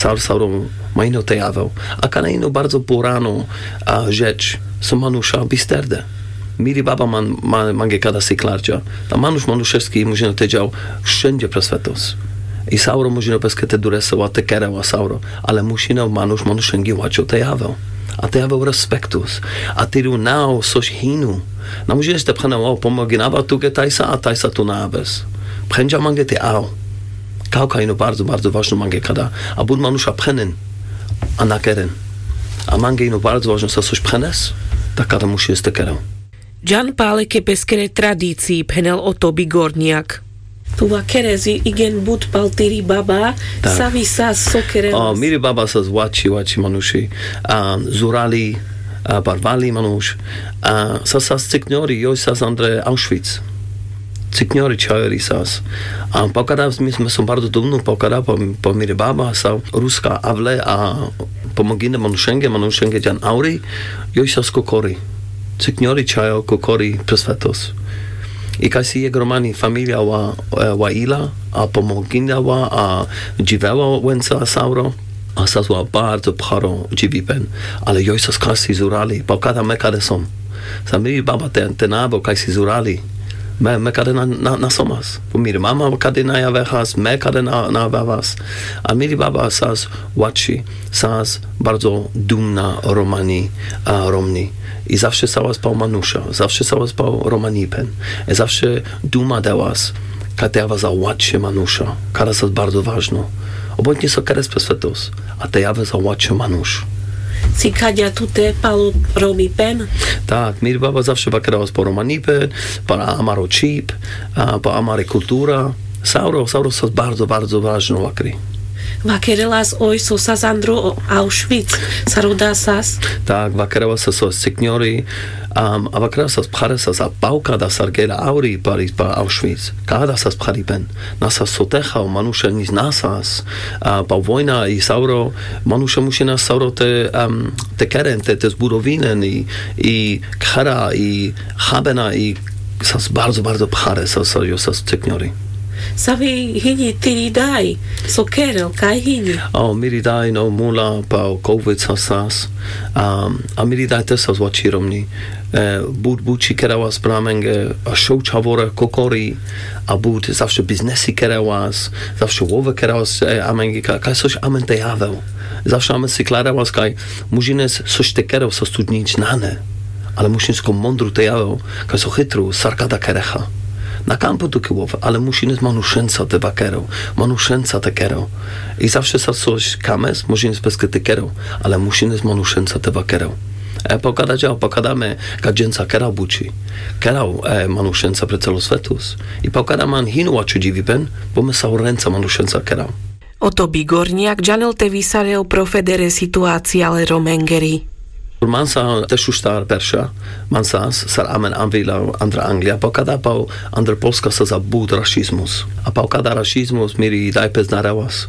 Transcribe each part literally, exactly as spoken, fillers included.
Sauro sauro ma ino te jaweł. A kana ino bardzo pôrano rzecz, so manusza bisterdë. Miri baba mange kada siklardzia. Ta manusz manuszewski mùszino te dzieł wszãdze pre swetos. I sauro mùszino peske te duresa ła te kerë ła sauro. Ale mùszino manusz manuszëngi łaco te jaweł. A te jaweł respektus. A tiru nao sos hinu. Na mùszinë te pchënë ła pòmòginawa tu ge tajsa a tajsa tu na jawes. Pchëndzia mange te ała. Kałka ino bardzo bardzo ważno mange kada. A bùd manusza pchënen. A na keren. A mange ino bardzo ważno sa sos pchënes. Tak kada mùszi jes te kerë. Dżan pale ke peskere tradicii phenel o tobi gorniak. Tu ła kerezi igen bùd pal tiri baba. Savi sas so kerela? Miri baba sas łaci łaci manuszi. Zurali, barwali manusz. Sas sas cykniori joj sas andre auschwitz. Cykniori czajori sas. A pokada mi som bardzo dumnu pokada po miri baba sas ruska awle a pòmògine manuszënge manuszënge dżan auri. Joj sas kòkòri. Cykniori czajo kòkòri pre swetos. I kaj si jek romani familia ła ila a pòmògina ła a dżiwela łãca sauro. A sas ła bardzo pcharo dżiwipen. Ale joj sas kaj si zurali pokada me kade som. Sa miri baba te na bo kaj si zurali. Me kade na somas. Miri mama kade na jawechas me kade na jawechas. A miri baba sas łaci sas bardzo dumna romani. Romni. I zawsze sałas pał manusza zawsze sałas pał romanipen. Zawsze duma dałas. Kaj te jawa za łaci manusza. Kara sas bardzo ważno. Obojtnie so keres pe swetos. A te jawa za łaci manusz. Si kadzia tu te pal romipen? Tak miri baba zawsze wakerałas pal romanipen, pal amaro czip, pal amare kultura. Sauro sauro sas bardzo bardzo ważno wakri. Wakerelas oj so sas andro auschwitz? Saroda sas. Tak wakerelas sas cykniori. A wakerelas sas pchare sas a pałka da sargera auri pal auschwitz. Kada sas pcharipen. Na sas sotecha o manusze nic na sas. Pal wojna i sauro manusze mùszi na sauro te keren te zbudowinen i kchera i chabena i sas bardzo bardzo pchare sas jo sas cykniori. Savi hini tiri daj? So kerel kaj hini? O miri daj no mula pal kowid sas sas. A miri daj te sas łaci romni. Bud buci kerałas pre amenge a szołcza wore kòkòri. A bud zawsze biznesi kerałas zawsze łowë kerałas. Amenge kaj sos amen te jaweł. Zawsze amen si klarełas kaj mùszi nes sos te kerel sos tu nic na ne. Ale mùszi nes ko mądru te jaweł. Kaj so chytru sarkada kerecha. Na kampu tu ki łowë ale mùszi nes manuszënca te wakerel. Manuszënca te kerel. I zawsze sa sos kames mùszi nes peske te kerel. Ale mùszi nes manuszënca te wakerel. Pokada dża pokada me gadżënca kerel buczi. Kerel manuszënca pre cału swetus. I pokada man hinu łacu dżiwipen. Bo me saurënca manuszënca kerel. O tobi gorniak dżanel te wisarel pro federe situacjale romengeri. Mansa te szusztar persza. Mansa sar amen anwila andra anglia pokada pał andra polska sa za bud rasizmus. A pokada rasizmus miri daj peznarełas.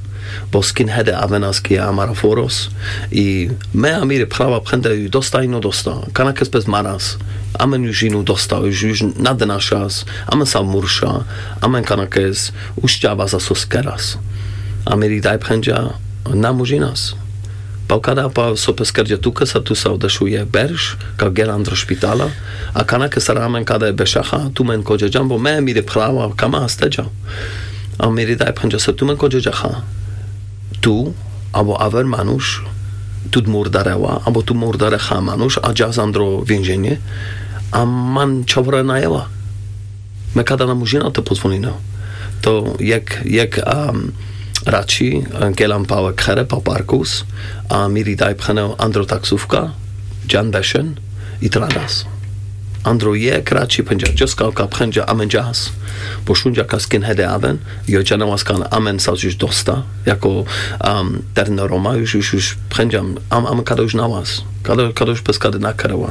Bo skinhede awenas ki amara foros. I me a miri pchrawa pchende ju dosta i no dosta. Kanakes pezmaras. Amen ju inu dosta ju na denaszas. Amen sa mursza. Amen kanakes uszczawa za sos keras. A miri daj pchędzia na murzinas. Pałkada pał so peskerdża tuke sa tu sa odeszłuje bersz ka gelandro szpitala. A kanake sara amen kada e beszacha tu men kodżedża bo me miri pchlała kama astedża. A miri daj pchędzia sa tu men kodżedża ha. Tu abo awer manusz tu murdareła abo tu murdarecha manusz a dża zandro więzienie. A man czowre najela. Me kada na murzina to pozwolina. To jak jak raci gelam pałek here pa parkus. A miri daj pchenel andro taksówka dżan beszen i tradas. Andro jak raci pchędzia dżoska ka pchędzia amen dżas. Bo szundzia ka skinhede awen i o dżana łaska amen sa już dosta jako terno roma już już już pchędzia amen kada już na łas. Kada już bez kada na kereła.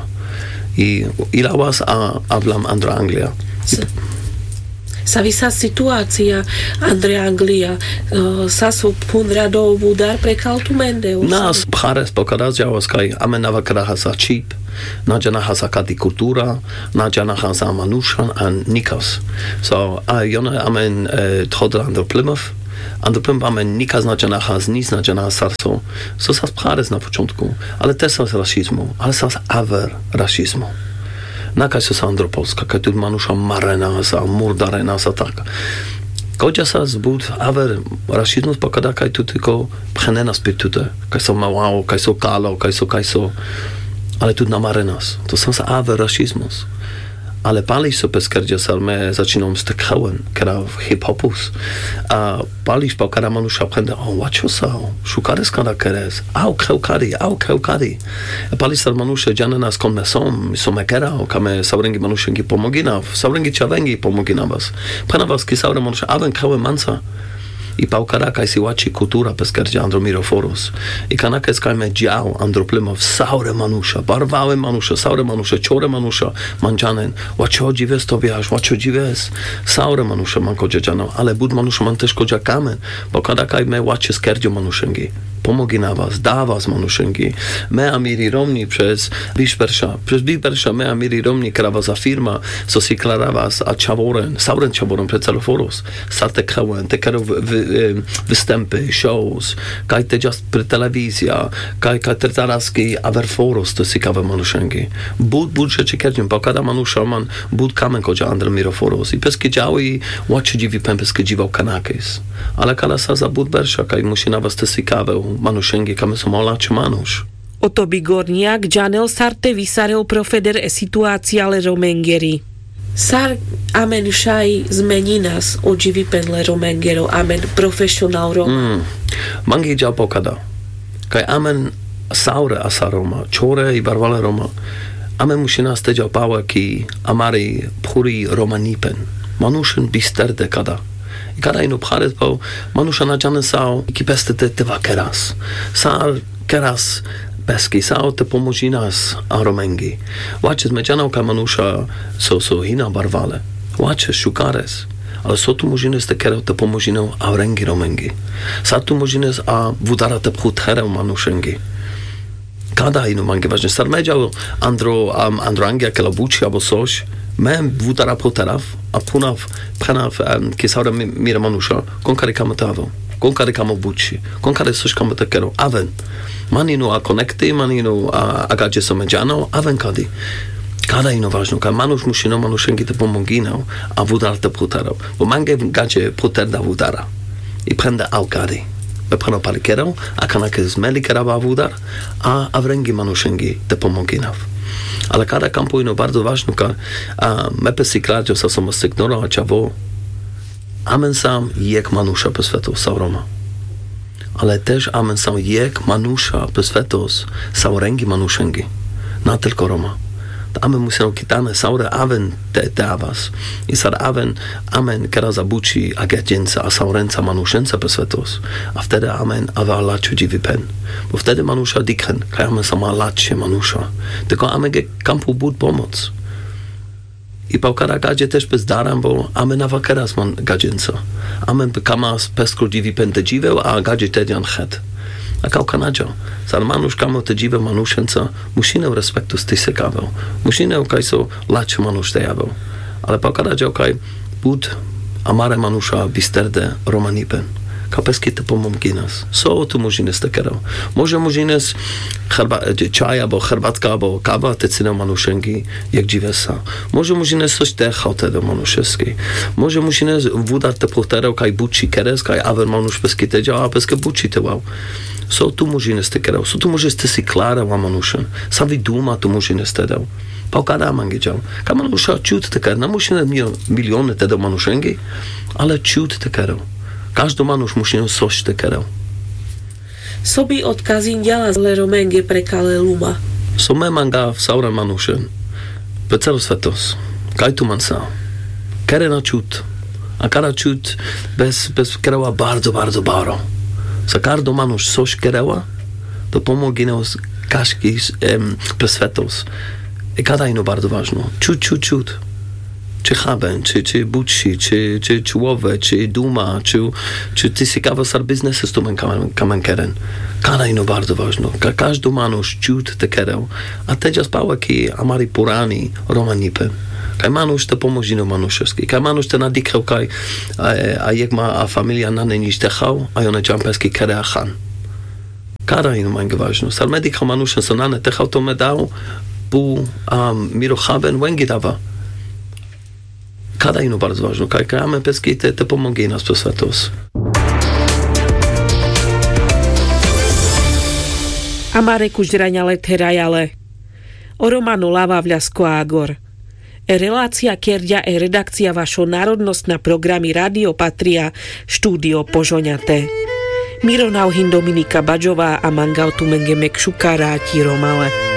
I ila łas a awlam andro anglia. Sa wisa situacja andre anglia. Sa so pundra do wudar prekal tu mende. Nas pchares pokada zdzałas kaj amen na wakera hasa czip. Na dżana hasa kadi kultura. Na dżana hasa manusza a nikas. So a jone amen tchodra andro plimów. Andro płym bame nikas na dżanachas, nic na dżanachas sar so. Sosas pchares na początkù, ale te sas rasizmù, ale sas awer rasizmù. Na kaj sosa andro Polska, kaj tu manusza marenas, a murdarenas, a tak. Kòdzia sas but awer rasizmù pòkôda kaj tu tëlkò pchenenas pi tute. Kaj so małao, kaj so kalo, kaj so, kaj so. Ale tu na marenas. To sas awer rasizmù. Ale palisz so pes kerdzia sar me zaczinóm z te khełen, kera hip-hopus. A palisz pòkôda manusza pchende, o, łačo sa, o, szukares kada keres, a o, khełkari, a o, khełkari. E palisz sar manusze dżanenas skąd me są, i so me kera, o, ka me saurëngi manuszëngi pòmòginaw, saurëngi czawëngi pòmòginawas. Pchenawas ki saure manusze, a wen khełe manca. I pòkôda kaj si łači kùltura pes kerdzia andro Mirofòros. I kanakes kaj me dżało andro płym saure manusza, barwałe manusza, saure manusza, czore manusza, man dżanen, łaczodżiwes Tobiasz, łaczodżiwes, saure manusza man kòdzia dżanã, ale but manusza man téż kòdzia kamen, pòkôda kaj me łaczë z kerdzio manuszëngi. Pòmòginawas, dawas manuszëngi. Me a miri romni przez Biszpersza, przez Biszpersza me a miri romni krawasa firma, so si klarowas, a czaworen, sauren czaworen pre celofòros, sar te khełen, te kero w-, w-, em, wëstãpë, shows, kaj te dżas pre telewizja, kaj, kaj te taraski awer fòros, to si kawe manuszëngi. But, but rzeczi kerdzim, pòkôda manusza man, but kamen kòdzia andro Mirofòros. I peski dżało i łaczodżiwi pem peski dżiwôł kanakes. Ale kala sa za but bersza, kaj mùszi na was te si kawe manuszëngi, kaj me so ma łaczë manusz. O Tobi Gorniak dżanel sar te wisarel pro feder e situacje le Romengeri. Sar amen szaj zmeninas o dżiwipen le Romengero, amen profesjonal Roma. Mm. Mangi dżało pòkôda. Kaj amen saure asa Roma, czore i barwale Roma. Amen mùszinas te dżało pałë ki amari phuri romanipen. Manuszën bistër de kada. I kada ino pchares pałë, manusza na dżanen sa o, ki pes te, te, te wa keras. Sar keras peski, sa o te pòmòżinas a Romëngi. Łaczës, me dżanã kaj manusza so, so hina barwale. Łaczës, szukares. Ale so tu mòżinës te kerë te pòmòżinã a rëngi Romëngi. Sa tu mòżinës a wùdara te pchù terë manuszëngi. Kada ino mangi ważné. Sar me dżało andro, am, andro Angia, kela bùczi abò sôsz. Me wùdara pchù teraw, a pchùnaw, pchënaw, em, ki saure mi-, mire manusza. Kąd kari kamò te awò. Kąd kari kamò bùczi. Kąd kari sôsz kamò te kerë. Awen. Manino a konekti, manino a, a gadżi so me dżanã, awen kadi. Kada ino ważné. Kaj manusz mùszi, no, manuszëngi te pòmòginã, a wùdara te pchù teraw. Bò mange gadżi pchù terë da wùdara. I pchënda a kari. Me pchënã pali kerë, a kanakes me li kerawa wùdar, a, a rëngi manuszëngi te pòmòginaw. Ale kada kampù ino bardzo ważné, kaj, a, me pes si klardzã, sa so ma sygnorã, a czawò. Amen sam jek manusza pes fetos, sa o Roma. Ale téż amen sam jek manusza pes fetos, sa o rëngi manuszëngi. Na tëlkò Roma. Amen mùszi, no, kitane saure awen te, te awas. I sar awen, amen kera za bùczi a gadzënca, a saurënca, manuszënca pes fetos. A wtedë amen awa łaczë dżiwi pen. Bò wtedë manusza dikhen, kaj amen sama łaczë manusza. Tëlkò amen ge kampù bùd pòmòc. I pałkara gadżi téż pes darã, bò amen awa keras man gadzënca. Amen kama pes kò dżiwi pen te dżiwë, a gadżi te dżan het. A kałka na dża. Sar manusz kamò te dżiwë manuszënca, mùszi nen respektu sti se kawë. Mùszi nen kaj so łaczë manusz te jawë. Ale pałkara dża kaj bùd amare manusza bistër de Romanipen. Ka peski te pòmòginës. So tu mòżinës te kerë. Mòże mòżinës herba-, e, czaj abò herbatka, abò kawa, te cynë manuszëngi, jak dżiwë sa. Mòże mòżinës sôsz te chałtë do manuszëngi. Mòże mùszi nen wùdar te pchù terë, kaj bùczi keres, kaj awer manusz peski te dża, a peski bùczi te ła. So tu mòżinës te kerë, so tu mòżinës te si klarë ła manuszën. Sa wi duma tu mòżinës te dôł. Pałkara mangi dża. Kaj manusza czud te kerë, na mùszi nen mil-, milionë te dôł manuszëngi, ale czud te kerë. Kòżdi manusz mùszi nen sôsz te kerë. So bi òd kazindża le Romëngë pre kale luma. So me manga saure manuszën. Pe całi swetos. Kaj tu man sa. Kerë na czud. A kara czud bez, bez kerëła bardzo, bardzo baro. Sa kardo manusz sôsz kerëła, to pòmòginã kaszki, em, pes fetos. I kada ino bardzo ważné. Czud, czud, czud. Czë chabën, czë, czë bùczi, czë, czë, czë łowë, czë duma, czë, czë të si kawë sar biznesë z tumën kamen, kamen keren. Kada ino bardzo ważné. Ka-, kòżdi manusz czud te kerë. A te dżas pałë ki amari pùrani Romanipë. Kaj manuš te pomožino manušoský, kaj manuš te nadikhel kaj a jek ma a familija nane nič te chav a jone čampeski kherea chan. Kada ino mange važno sar me dikhel manušen so nane te chav to me dav pu a miro chaven vengi dava. Kada ino barzo važno kaj kaj amen peski te te pomoge inas posvetos. Amare kužderaňa le therajale. O romano lava vľasko agor. E relácia kerďa e redakcia vašo národnostna programi radio patria, štúdio požoňate. Miro navhin dominika badžová a mangav tumenge mekšuka ráti romale.